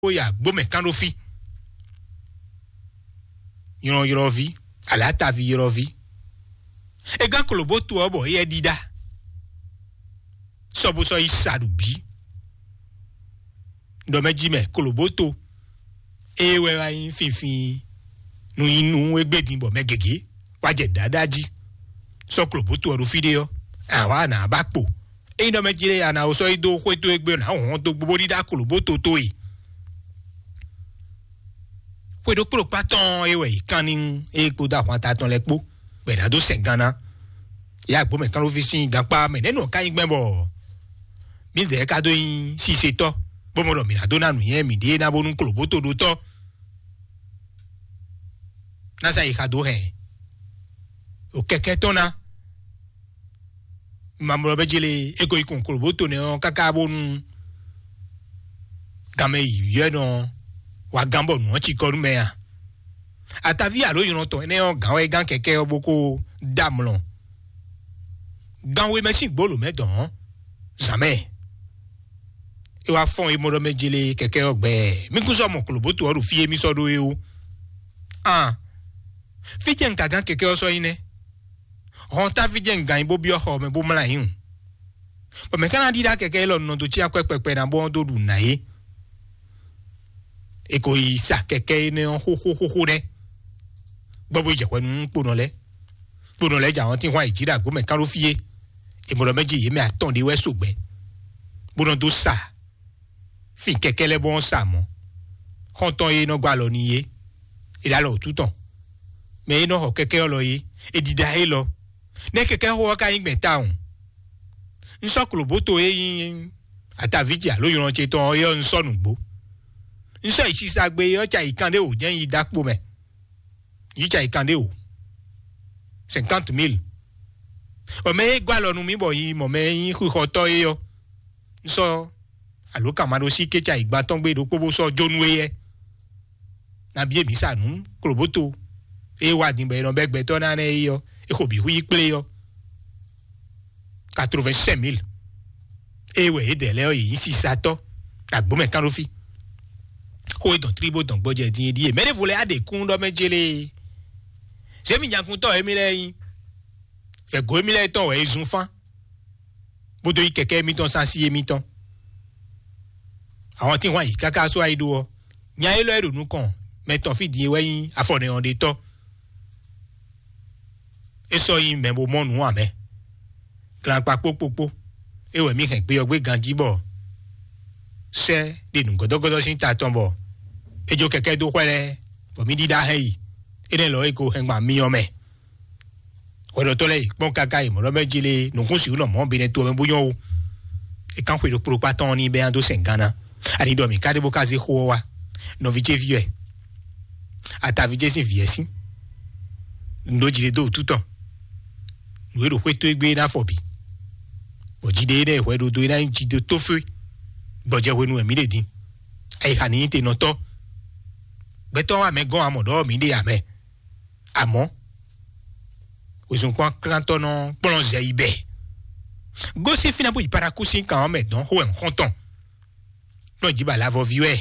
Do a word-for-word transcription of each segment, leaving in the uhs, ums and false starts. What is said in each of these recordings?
bó yi agbó mɛ kán ɖó fí. Nylɔ́nylɔ́ví, alǎtaví ylɔ́ví. É gán klobóto ɔ́ bɔ éyɛ́ ɖíɖá. Sɔ́ bó sɔ́ yi sa ɖu bǐ. Ɖɔ mɛ jí mɛ klobóto. Ée wɛ wá nyí finfin nú nyí nú égbé din bɔ mɛ gěgé wá jɛ ɖǎɖá jí. Sɔ́ klobóto ɔ́ ɖo fí ɖé ɔ́, àwa nǎ ba kpo. Ényí ɖɔ mɛ jí lé a nǎ wó sɔ́ yi dó xwé towe gbe, nǎ hɔn dó gbogbo ɖíɖá klobóto towe. Xwe ɖokpó ɖokpá tɔn é wɛ yě kán ní é kpódó ahwanta tɔn lɛ́ɛ kpó, bɔ è nǎ dó sɛn gán ná. Yá gbɔmɛ kánɖóví sín gankpá mɛ nɛ́ nɔ ká nyí gbɛn bɔ mǐdɛɛ ka dó nyí sisetɔ́, bó mɔ ɖɔ mǐ ná dó ná nǔnywɛ́ mǐɖée ná bónú klobóto ɖó tɔ́. Ná sa yi xa dó hɛn o kɛkɛ tɔn ná. Mamlɔ bɛ jele eko yi kun klobóto nɛ ɔ́ káká bónú ganmɛ yi yɔ́ nɔ wa gán bɔ nǔ ɔ́ ci kɔ nú mɛ a? Ataví alo nylɔ tɔn énɛ́ ɔ́ gǎn wɛ gán kɛkɛ ɔ́ bó kó dá mlɔ. Gan we mɛ sín gbolo mɛ dɔn zǎn mɛ. É wá fɔ́n é mɔ ɖɔ mɛ jele kɛkɛ ɔ́ gbɛ. Mí kún sɔ́ mɔ klobóto ɔ́ ɖo fí e mí sɔ́ ɖó é ó. An, fí jɛ́n un ka gán kɛkɛ ɔ́ sɔ́ nyí nɛ́? Hɔn táví jɛ́n un gǎn nyí bó byɔ́ xɔ mɛ bó mlá nyí hǔn. Bɔ mɛ̌ ka ná ɖíɖá kɛkɛ élɔ́ nɔ dó cyán kwɛ́ kpɛkpɛ ná bó ɔ́ dó ɖu nǎ é? È ko yi sa kɛkɛ énɛ́ ɔ́ xóxóxóxó nɛ́, gbɔ bó yi jɛ hwɛ nú kponɔ lɛ́ɛ. Kponɔ lɛ́ɛ jɛ ahɔ́ntínhwan yi jǐ ɖo agbǒ mɛ kán ɖó fí é. È mɔ ɖɔ mɛ jí yě mɛ atɔn ɖé wɛ so gbɛ, bó nɔ dó sa fin kɛkɛ lɛ́ɛ bó nɔ́ sa mɔ̌. Xɔ́ntɔn e nɔ gɔ́ alɔ n'i é, è ɖo alɔ wǔtu tɔn. Mɛ e nɔ xɔ kɛkɛ ɔ́ lɔ é, è ɖiɖa élɔ́. Nɛ́ kɛkɛ́xo ɔ́ ka nyí gbɛn tawun? Un sɔ́ klobǒto e nyí ataví ce alo nylɔ ce tɔn ɔ́, é ɔ́, un sɔ́ nǔgbó. Un sɔ́ yi sisa gbe é ɔ́, ca yi kan ɖé wǒ jɛ́n yi dó akpo mɛ. Yi ca yi kan ɖé wǒ. Cinquante mille. Bɔ mɛ e gɔ́ alɔ nú mì bɔ yi mɔ mɛ e nyí xixɔtɔ́ é ɔ́, un sɔ́ alo kan ma ɖó sí kéca yi gban tɔn gbé ɖokpó bó sɔ́ jó nú éyɛ́. Nabí e mǐ sa nǔ klobóto e wá din bɔ è nɔ bɛ́ gbɛtɔ́ ná nɛ́ é ɔ́, é xo bǐ xwí kplé ɔ́, quatre-vingt-cinq mille. Ée wɛ yědɛɛ lɛ́ɛ ɔ́, yě nyí sisatɔ́ ɖo agbǒ mɛ kán ɖó fí. Xó e dɔn tlí bó dɔn gbɔjɛ din é ɖíe: mɛ ɖěvo lɛ́ɛ á ɖe kún ɖɔ mɛ jélé. Zě mi nyakuntɔ́ émí lɛ́ɛ nyí, vɛ̌go émí lɛ́ɛ tɔn wɛ è zun fán, bó dó yí kɛkɛ́ émítɔn sín así émítɔn. Àwọn tí wọ́n yí káká só ayi ɖó ɔ́, nya élɔ́ e ɖo nukɔn mɛ tɔn fí din é wɛ nyí afɔnɛyɔnɖetɔ́. É sɔ́ nyí mɛ bo mɔ nǔ ǎ mɛ. Glakpa kpókpókpó é wɛ mǐ hɛn gbe ɔ́ gbé ganjí bɔ sɛ́ ɖe nǔgɔ́dɔ́gɔ́dɔ́ sín ta tɔn bɔ é jó kɛkɛ́ dó xwɛ lɛ́ɛ, bɔ mǐ ɖíɖá hɛn yi. Énɛ́ lɔ é ko hɛn gban myɔ mɛ. Hwɛɖɔtɔ́ lɛ́ɛ yi kpɔ́n káká yi mɔ̌ ɖɔ mɛ jí lé nǔkún sixú nɔ mɔ̌ be nɛ́ to ɔ́ mɛ bó nyɔ́ o. È kán xwe ɖokpó ɖokpá tɔn ɔ́ ní bɛ́ nya dó sɛn gán ná. Ani ɖɔ mǐ ka ɖe bó ka zé xó ɔ́ wá. Nɔví ce ví wɛ. Ataví ce sín vǐ wɛ sín. Nǔ ɖó jí ɖé dó wǔtu tɔn. Nǔ e ɖo xwé tó égbé é ná fɔ bǐ. Bɔ jí ɖé énɛ́ e hwɛ ɖo dó é ná nyí jí dó tófé. Gbɔjɛ hwenu wɛ mǐ ɖe din. Ayixa ní nyí te nɔ tɔ́. Gbɛtɔ́ wa mɛ gɔ́n amɔ ɖɔ mǐ ɖe amɛ. Àmọ́, wezun kpɔ́n klántɔ́ nɔ kplɔ́n zɛ yi bɛ. Gosín fínɛ́ bó yi Parakúsín kan ɔ́ mɛ dɔn xó wɛ xɔ́ntɔn. Nɔ jí ba lavɔví wɛ.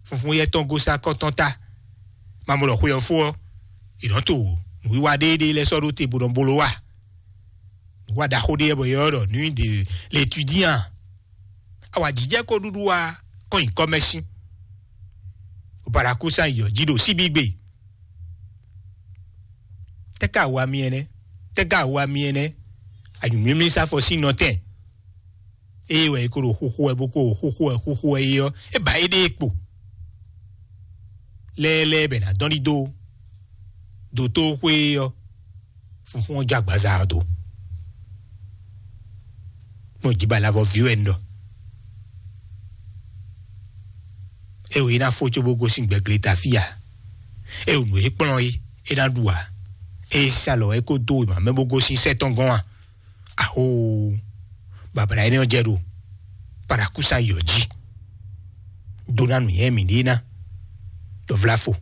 Funfun yɛ tɔn gosín akɔtɔn ta. Mamɔ ɖɔ xwe ɔ́ fó ɔ́, è nɔ to nǔwiwa ɖéeɖée lɛ́ɛ sɔ́ ɖó te bó nɔ bló wa. Nǔwa ɖaxó ɖé yɛ bɔ yɛ ɔ́ ɖɔ nuit de l'étudiant. Awǎjijɛ ko ɖuɖu wa kɔn nyi kɔmɛsin. Parakúsán yɔ jí ɖo síbígbe. Tɛ́ ka wa mi ɛnɛ? Tɛ́ ka wa mi ɛnɛ? Anyǔmímí sá fɔ sín nɔtɛn. Ée wɛ é ko ɖo xúxú wɛ bó ko ɖo xúxú wɛ xúxú wɛ é ɔ́, é ba éɖée kpo. Lɛ́ɛlɛ́ɛ bɛ nǎ dɔn ɖi dó dǒtóxwé ɔ́, funfún ɔ́ jó agbaza ɔ́ dó. Kpɔ́n jí ba lavɔ ví wɛ un ɖɔ. É wǒ é ná fó cóbó gosín gbɛgleta fí a? É wǒ nǔ e kplɔ́n é é ná ɖu a? É sá lɔ é kó dó wěma mɛ bó gosín sɛ́ tɔn gɔ́n a? Ahoo! Babla énɛ́ ɔ́ jɛ ɖo Parakúsán yɔ jí. Dó ná nǔnywɛ́ mǐɖée ná. Ɖɔ vlafo,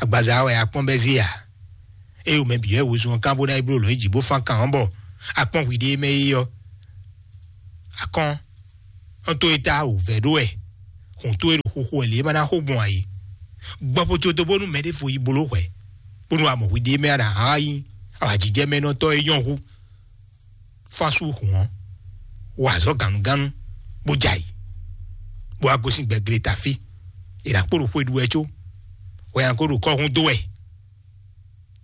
agbaza wɛ a kpɔ́n bɛ́ zé a? Ée wǒ mɛ bǐ wɛ wezun ɔ́ kán bó ná yi bló lɔ̌n yi jǐ bó fán kan ɔ́ bɔ a kpɔ́n hwiɖée mɛ é ɔ́, akɔ́n ɔ́ tó é tá wǒ vɛ́ ɖó wɛ. kɔn towe ɖo xoxo wɛ lě e ma ná xo gbɔn ǎ é. Gbɔ xo có dó bónú mɛ ɖěvo yi bló hwɛ̌, bónú a mɔ hwi ɖ'é mɛ a ɖo ahan wá nyí awǎjijɛmɛnɔtɔ́ e nyɔ́ hú. Fán sú hǔn ɔ́, wa azɔ̌ gannugánnu, bó jɛ ayǐ, bó wá gosín gbɛgle ta fí. È nǎ kpo ɖo xwe ɖu wɛ có hwɛ nya ko ɖo kɔ́ hún dó wɛ.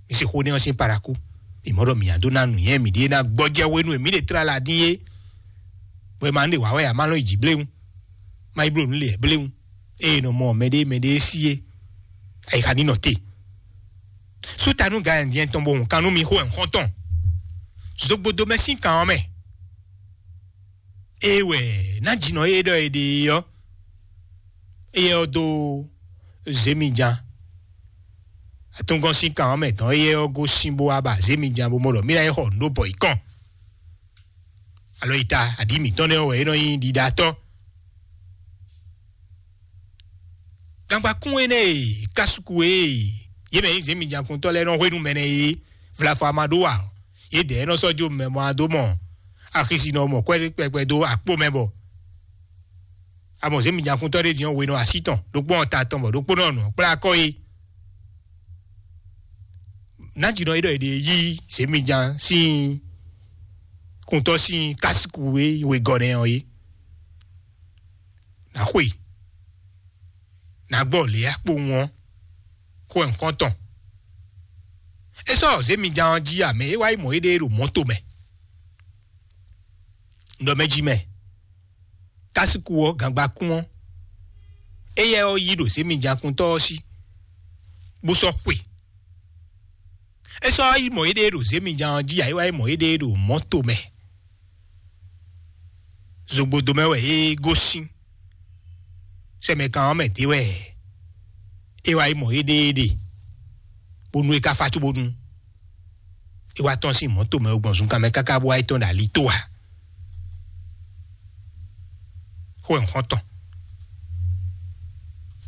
Mi se xó nɛ́ ɔ́ sín paraku. Mi mɔ ɖɔ mǐ nya dó ná nǔnywɛ́ mǐɖée ná gbɔjɛ́ hwenu e mǐ ɖe tlala dín é. Bɔ è ma nú ɖe wǎ wɛ ǎ, má lɔn yi jǐ bléwún, má yi bló nǔ lě bléwún. Ée è nɔ mɔ mɛɖée mɛɖée sí é, ayixa ní nɔ te. Sú ta nú Galɛ́ndiɛn tɔn bó hun kan nú mi xó ɛ̌nxɔ́ntɔn. Zogbodomɛ sín kan ɔ́ mɛ. Ée wɛ nájínɔ e ɖɔ è ɖe é ɔ́, éyɛ́ ɔ́ dó zěmijan. Atúngɔ́n sín kan ɔ́ mɛ tɔn éyɛ́ ɔ́ gosín bó wá ba zěmijan bó mɔ ɖɔ mǐ ná yi xɔ nǔ ɖó bɔ yǐ kɔn. Alɔ yi ta aɖǐ mǐtɔn nɛ́ ɔ́ wɛ é nɔ nyí ɖiɖatɔ́. Gangbakún énɛ́ e kásuku e yě mɛ nyí zěmijakuntɔ́ lɛ́ɛ nɔ hwenu mɛ nɛ́ é, vlafɔ a ma ɖó ǎ. Yědɛɛ nɔ sɔ́ jó mɛ bɔ a dó mɔ axisi nɔ mɔ kwɛ́ kpɛkpɛ dó akpó mɛ bɔ a mɔ zěmijakuntɔ́ ɖé din ɔ́, we nɔ así tɔn, ɖokpó nɔ ta tɔn bɔ ɖokpó nɔ nɔ kplá akɔ é. Nájínɔ e ɖɔ è ɖe yí zěmijan sín kuntɔ́ sín kásiku e wegɔ́ nɛ́ ɔ́ é. Nǎ xwe, nǎ gbɔ lě akpowun ɔ́, xó ɛ̌nkɔ́ntɔn. É sɔ́ zěmijan ɔ́ jí ǎ, mɛ é wá yi mɔ éɖée ɖo mɔ̌to mɛ. Ɖɔ mɛ jí mɛ, kásiku ɔ́, gangbakún ɔ́, éyɛ́ ɔ́ yí ɖo zěmijakuntɔ́ ɔ́ sí, bó sɔ́ xwe. É sɔ́ yi mɔ éɖée ɖo zěmijan ɔ́ jí ǎ, é wá yi mɔ éɖée ɖo mɔ̌to mɛ. Zogbodo mɛ wɛ é gosín. Sɛmɛkan ɔ́ mɛ d'é wɛ é wá yi mɔ éɖée ɖe, bónú é ka fá cóbónú é wá tɔ́n sín mɔ̌to mɛ gbɔn zunkan mɛ káká bó wá yi tɔ́n ɖo ali tó ǎ. Xó wɛ un xɔ́n tɔn.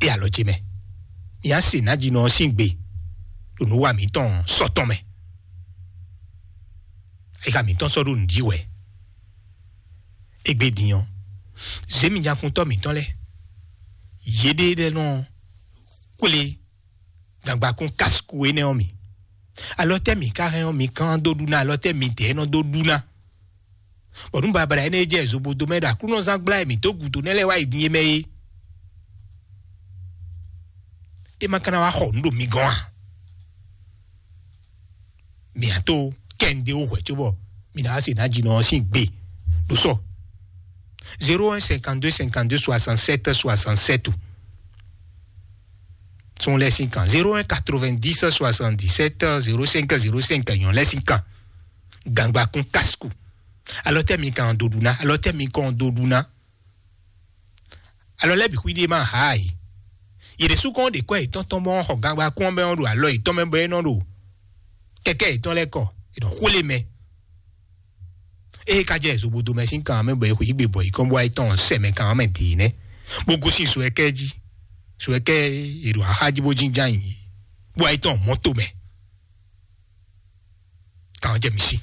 É alɔ ce mɛ, mi á se nǎjínɔ ɔ́ sín gbe ɖo nǔ wa mǐtɔn sɔ́ tɔn mɛ. Ayixa mǐtɔn sɔ́ ɖo nǔ jí wɛ. Égbé din ɔ́, zěmijakuntɔ́ mǐtɔn lɛ́ɛ, yěɖée lɛ́ɛ nɔ xwlé gangbakún kásukú énɛ́ ɔ́ mì. Alɔ tɛ́ mǐ ka hɛn ɔ́, mi kán dó ɖu ná? Alɔ tɛ́ mi dɛ̌ nɔ dó ɖu ná? Bɔ nú babla énɛ́ e jɛ zobodo mɛ ɖo Aklúnɔzán gbla e mǐ dó gǔdo nɛ́ lɛ́ɛ wá yi din é mɛ é, é ma ka ná wá xɔ nǔ ɖo mi gɔ́n a? Mǐ á tó kɛ́nde ó hwɛ̌ cóbɔ mǐ ná wá se nǎjínɔ ɔ́ sín gbe ɖo sɔ. Zéro un cinquante-deux cinquante-deux soixante-sept soixante-sept. Sɔn lɛ́ sín kan zéro un quatre-vingt-dix soixante-dix-sept zéro cinq zéro cinq, nyɔ̌ lɛ́ sín kan. Gangbakún kásíkù. Alɔ tɛ́ mi kan dó ɖu ná, alɔ tɛ́ mi kɔn dó ɖu ná. Alɔ lɛ́ bǐ xwíɖée ma há ǎ. Yě ɖésú kɔn ɖe kɔ́ yětɔn tɔn bɔ xɔ gangbakún ɔ́ bɔ é nɔ ɖo alɔ yětɔn mɛ bɔ é nɔ ɖo kɛkɛ́ yětɔn lɛ́ɛ kɔ, è nɔ xwlé mɛ. Ée ka jɛ zobodo mɛ sín kan mɛ bɔ è xwǐ gbe bɔ yě kɔn bɔ ayé tɔn sɛ mɛ kan mɛ dě nɛ́, bó gosín suɛkɛ́ jí. Suɛkɛ́ è ɖo axá jí bó jínján yǐ, bó ayé tɔn mɔ̌to mɛ. Kan jɛ mi sí.